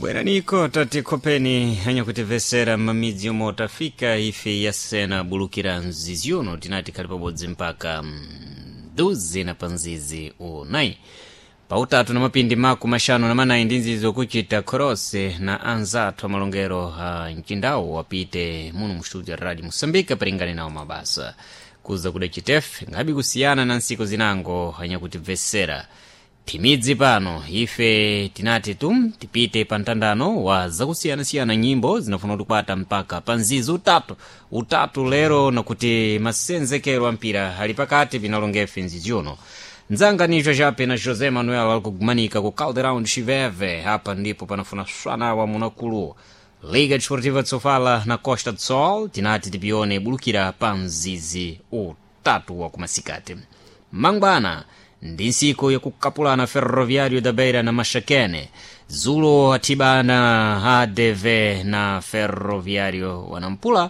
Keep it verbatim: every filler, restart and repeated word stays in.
Bweraniko tatikhopeni anyakutimvesera m'mamidzi omwe tafika ife yasena bulukira mzizi uno tinati khali pabodzi mpaka mduzi na panzizi unayi pautatu na mapindi maku maxanu na manayi ndi nzizi okuchita khorose na anzathu amalongero a mcindawo wapite muno mu studio ya radio moçambique palingane nawo mabasa kuza kuda chitefe ngabi kusiyana na ntsiku zinango anyakutimvesera timidzi pano ife tinati tum tipite pa mtandano wa zakusiyanasiyana nyimbo zinafuna kutikwata mpaka pa nzizi utatu utatu lero nakuti masenzekero a mpira ali pakati pinalongefe nzizi uno ndzanga nicho chape na José Manuel alikugumanika ku Caldeirão de Chiveve. Apa ndipo panafuna swana wa munakulu Liga Desportiva de Sofala na Costa do Sol tinati tipione bulukira pa mzizi utatu wa kumasikati mangwana ndi ntsiku yakukapulana Ferroviário da Beira na Maxakene zulo athibana A D V na Ferroviário wanampula.